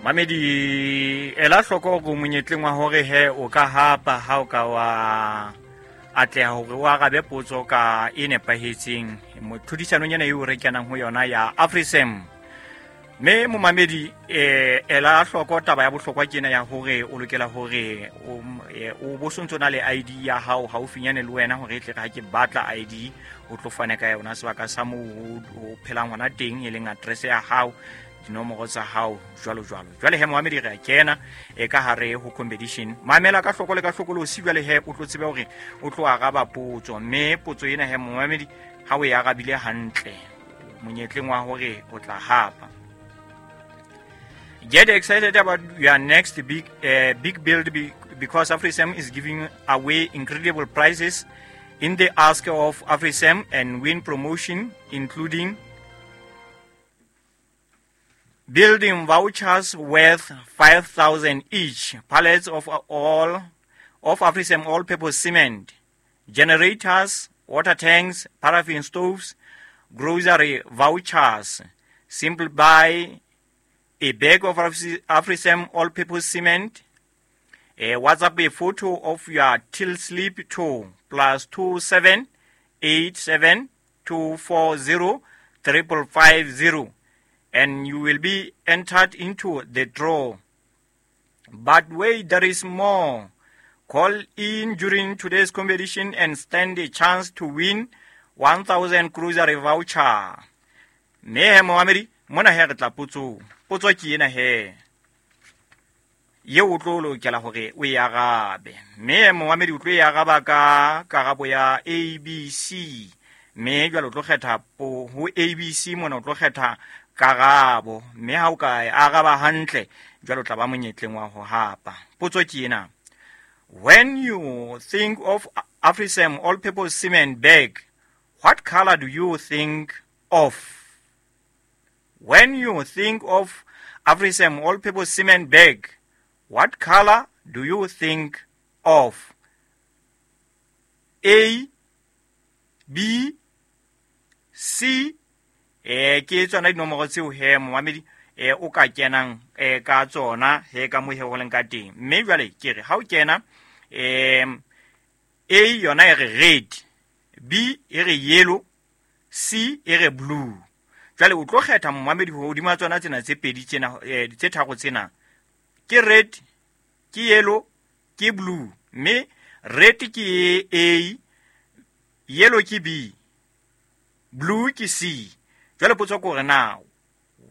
Mamedi, ela hloko hore monyetleng wa hore he o ka hapa ha o ka wa atleha hore o arabe potso ka e nepahetseng tlhodisanong ena eo re kenang ho yona ya Afrisem. Mme momamedi, ela hloko taba ya bohlokwa ke ena ya hore o lokela hore o bo sontso na le ID ya hao haufinyane le wena, hore e tle re ha ke batla ID o tlo fane ka yona sebaka sa moo o phelang hona teng, e leng address ya hao, dinomoro tsa hao, jwalo jwalo. Jwale he momamedi, re a kena e ka hare ho competition. Mamela ka hloko le ka hlokolosi jwale he o tlo tsebe hore o tlo araba potso, mme potso ena he momamedi ha o e arabile hantle monyetleng wa hore o tla hapa. Get excited about your next big build because AfriSam is giving away incredible prizes in the Ask of AfriSam and Win promotion, including building vouchers worth 5,000 each, pallets of all of AfriSam all-purpose cement, generators, water tanks, paraffin stoves, grocery vouchers. Simply buy a bag of AfriSam all-purpose cement. WhatsApp a photo of your till slip to +27 87 240 555 0, and you will be entered into the draw. But wait, there is more. Call in during today's competition and stand a chance to win 1,000 grocery voucher. Mme he momamedi, mona he re tla potsong. Potso ke ena he yeo o tlo lokela hore o e arabe. Mme momamedi o tlo e araba ka karabo ya A, B, C. Mme jwale o tlo kgetha ho A, B, C mona o tlo kgetha karabo. Mme ha o ka e araba hantle, jwale o tla ba monyetleng wa ho hapa. Potso ke ena. When you think of AfriSam all-purpose cement bag, what color do you think of? When you think of AfriSam all-purpose cement bag, what color do you think of? A, B, C. Ke tsona dinomoro tseo he momamedi, o ka kenang ka tsona he ka mo he ho leng ka teng. Mme jwale ke re ha o kena, A yona e re red, B e re yellow, C e re blue. Jwale o tlo kgetha momamedi hodima tsona tsena tse pedi tsena, tse tharo tsena. Ke red, ke yellow, ke blue. Mme red ke A, yellow ke B, blue ke C. Jwale potso ke hore na,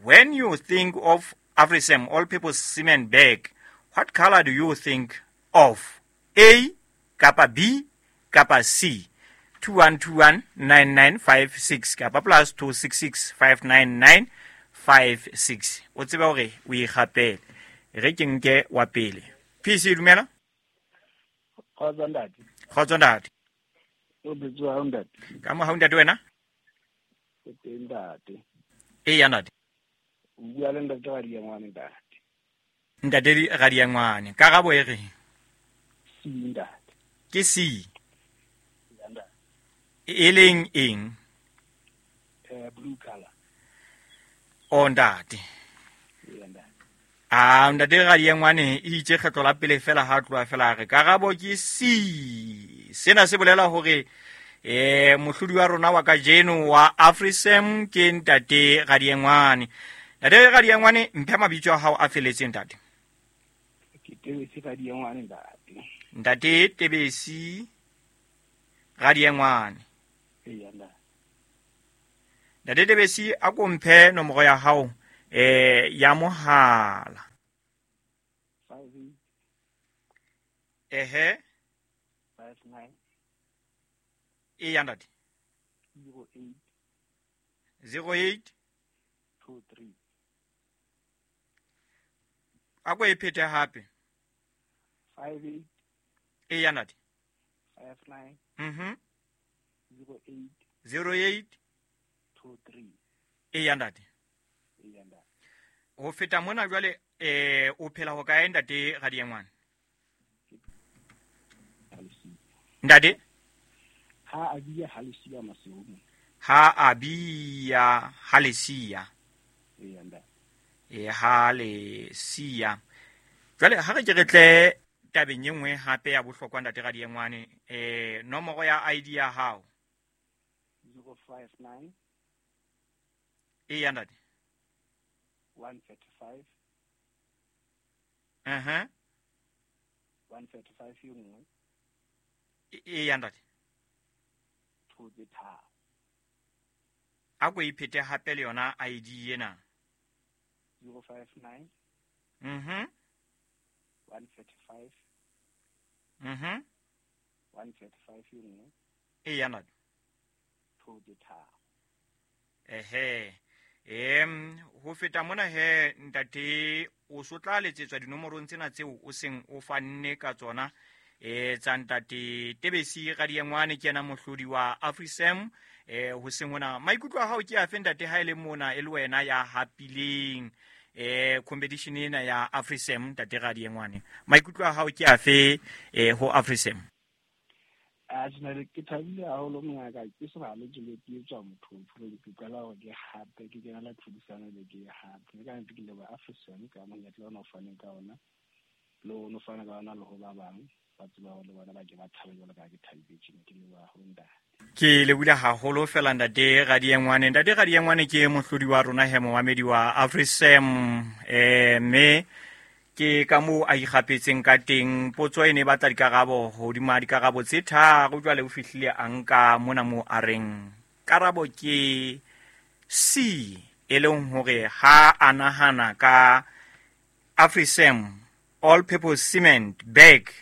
when you think of AfriSam all-purpose cement bag, what color do you think of? A kapa B kapa C? 21219956 kapa +266 599 56. O tsebe hore o ikgapele. Re ke nke wa pele. PC, dumela. Kgotso ntate. Kgotso ntate. O bitswa hao ntate? Ka mo hao ntate wena? Ke teng ntate. E ya ntate. O bua le ntate Radiangwane ntate. Ntate Radiangwane. Karabo e reng? C ntate. Ke C. Ya ntate. E leng eng? Blue color. O ntate. Ya ntate. A ntate Radiangwane e itse kgetlo la pele fela ha tloha fela re karabo ke C. Sena se bolela hore mohlodi wa rona wa kajeno wa AfriSam ke ntate Radiangwane. Ntate Radiangwane, mphe mabitso a hao a feletseng ntate. Ke Tebesi Radiangwane ntate. Ntate Tebesi Radiangwane. Eya ntate. Ntate Tebesi, a ko mphe nomoro ya hao ya mohala. 58. Ehe. 59. E ya ntate. 08. 08. 23. A ko e phete hape. 58. E ya ntate. 59. 08. 08. 23. E ya ntate. E ya ntate. Ho feta mona jwale, o phela ho kae ntate Radiangwane? Ntate? Ha a bia ha lesia Maseru. Ha a bia ha lesia. E ya ntate. Ha le siya. Jwale ha re ke re tle tabeng e nngwe hape ya bohlokwa, ntate Radiengwane, nomoro ya ID ya hao. 059. Eya, ntate. 135. 135 e nngwe. Eya, ntate. 2 tse tharo. A ko iphete hape le yona ID ena. 059. 135. 135 e nngwe. Eya, ntate. 2 tse tharo. Ehe. Ho feta mona he, ntate, o so tla letsetswa dinomorong tsena tseo o seng o fanne ka tsona, tsa ntate Tebesi Radiengwane, ke yena mohlodi wa AfriSam. Ho seng hona, maikutlo a hao ke afe, ntate, ha e le mona e le wena ya hapileng competition ena ya AfriSam, ntate Radiengwane? Maikutlo a hao ke afe ho AfriSam? A tjena ke thabile haholo, mongaka, ke se bale ke le ke tswa motho ke qala hore ke hape ke kena la tlhodisano le ke hape ke ka nnete ke leboha AfriSam ka monyetla ona o faneng ka ona, le o fana ka ona le ho ba bang ba tseba hore le bona ba ke ba thabe jwalo ka ha ke thabile tjena. Ke leboha haholo, ntate. Ke lebohile haholo fela, ntate Radiengwane. Ntate Radiengwane ke mohlodi wa rona he, momamedi wa AfriSam, mme ke ka moo a ikgapetseng ka teng. Potso e ne e batla dikarabo hodima dikarabo tse tharo, jwale o fihlile a nka mona moo a reng karabo ke C, e leng hore ha a nahana ka AfriSam all purpose cement bag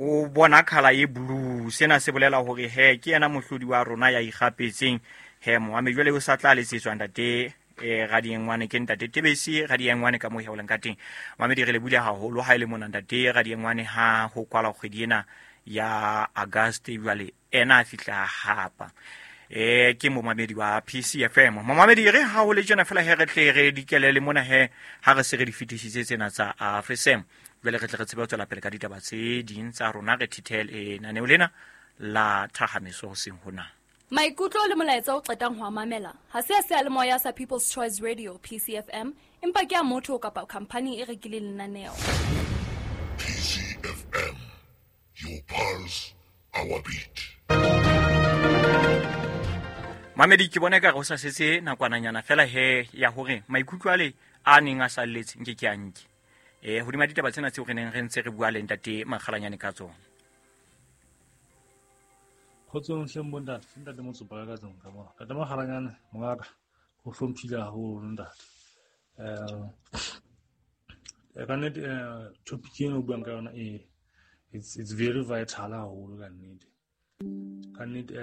o bona colour e blue. Sena se bolela hore he ke yena mohlodi wa rona ya ikgapetseng he, moame. Jwale o sa tla letsetswa ntate Radiengwane, ke ntate Tebesi Radiengwane ka moo he o leng ka teng. Mamedi, re lebohile haholo ha e le mona ntate Radiengwane ha ho kwala kgwedi ena ya August, jwale ena a fihla hapa. Ke momamedi wa PCFM. Momamedi, re ha ho le tjena fela he re tle re dikele le mona he ha re se re di fetisitse tsena tsa AfriSam. Jwale re tle re tsebe ho tswela pele ka ditaba tse ding tsa rona, re thithele lenaneo lena la Thahamiso hoseng hona. Maikutlo le molaetsa o qetang ho a mamela ha se a seyalemoya sa People's Choice Radio PCFM, empa ke a motho kapa khampani e rekileng lenaneo. PCFM, your pulse, our beat. Mamedi, ke bona ekare ho sa setse nakwananyana fela he ya hore maikutlo ale a neng a salletse nke ke a nke. Hodima ditaba tsena tseo re neng re ntse re bua le ntate Makgalanyane ka tsona. Kgotsong hleng bontate, ntate Motsopa ka tlung ka mona. Ntate Makgalanyane, mongaka, ho hlomphile haholo ntate. Ka nnete, topic eno o buang ka yona it's very vital haholo ka nnete. Ka nnete,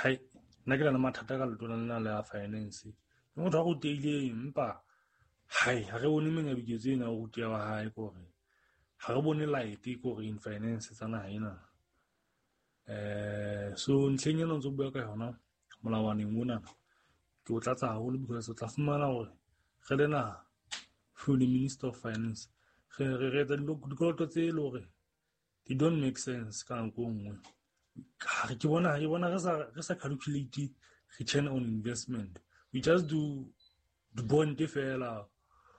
hai, nna ke na le mathata ka letona lena la finance. Ke motho a rutehileng, empa hai, ha re bone menyabuketso ena ya ho ruteha wa hae, ke hore ha re bone light ke hore in finance tsa naha ena. So ntlheng ena o ntso bua ka yona molawaneng ona, ke o tlatsa haholo because o tla fumana hore re le naha, through the Minister of Finance, re etsa dikoloto tse e le hore they don't make sense ka nako e nngwe. Ke bona re sa calculate return on investment. We just do the bond fela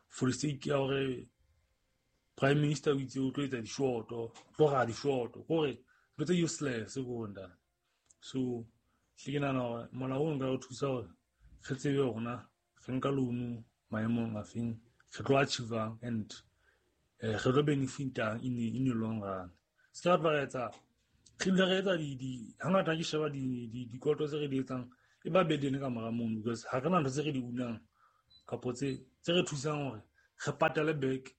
for the sake ya hore Prime Minister o itse o tlo etsa dishoto, tlo ra dishoto, kore ntho tse useless ko ntate. So hle ke nahana hore molao o nka re thusa hore re tsebe hore na re nka loan maemong a feng, re tlo achieve-ang and re tlo benefit-ang in the long run. Se ka ba re etsa, re dula re etsa di, hangata ke sheba dikoloto tse re di etsang e ba burden ka mora mono, because ha re na ntho tse re di unang kapo tse re thusang hore re patale back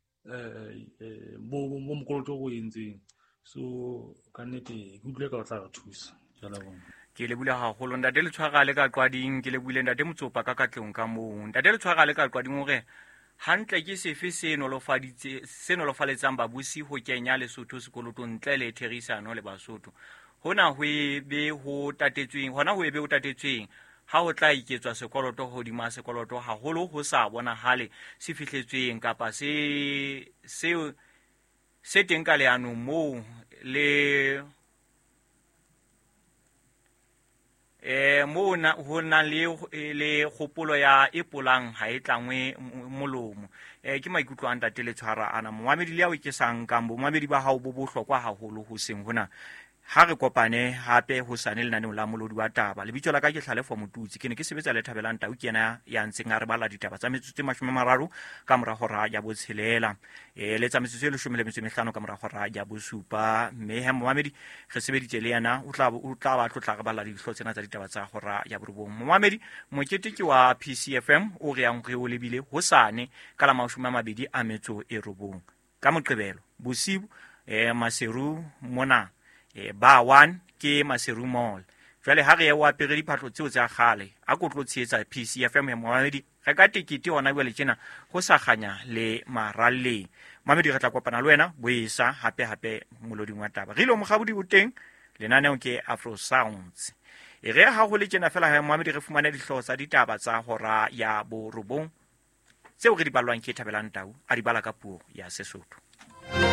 bo mokoloto o entseng. So ka nnete ke utlwile ka o tla re thusa. Ke a leboha. Ke lebohile haholo ntate Letshwara le ka Qwading, ke lebohile ntate Motsopa ka Katlehong ka moo. Ntate Letshwara le ka Qwading hore hantle ke sefe se nolofaditse, se nolofaletsang babusi ho kenya Lesotho sekolotong ntle le therisano le Basotho. Hona ho e be ho tatetsweng, hona ho e be ho tatetsweng ha ho tla iketswa sekoloto hodima sekoloto haholo ho sa bonahale se fihletsweng kapa se teng ka leanong moo le Mo ho nang le kgopolo ya e polang ha e tlangwe molomo. Ke maikutlo a ntate le tshwara ana. Momamedi le ao ke sa nkang bomamedi ba hao bo bohlokwa haholo ho seng hona. Ha re kopane hape hosane lenaneong la Molodi wa Taba. Lebitso la ka ke Hlalefo Motutsi. Ke ne ke sebetsa le Thabelang Tau, ke yena ya ntseng a re bala ditaba tsa metsotso e 30 ka mora hora ya 6. Le tsa metsotso e 15 ka mora hora ya 7. Mme he momamedi re sebeditse le yena, o tla ba tlotla re bala dihlooho tsena tsa ditaba tsa hora ya 9. Momamedi, mokete ke wa PCFM o re yang re o lebile hosane ka la 29 ka Moqebelo bosiu, Maseru mona. Ba 1 ke Maseru Mall. Jwale ha re o apere diphahlo tseo tsa kgale, a ko tlo tshehetsa PCFM ya momamedi. Re ka tekete hona jwale tjena ho sa kganya le maralleng. Momamedi, re tla kopana le wena boesa hape hape moloding wa taba. Re ile mokgabodi o teng, lenaneo ke Afro Sounds. E re ha ho le tjena fela ha momamedi re fumane dihlooho tsa ditaba tsa hora ya 9 tseo re di ballwang ke Thabelang Tau, a di bala ka puo ya Sesotho.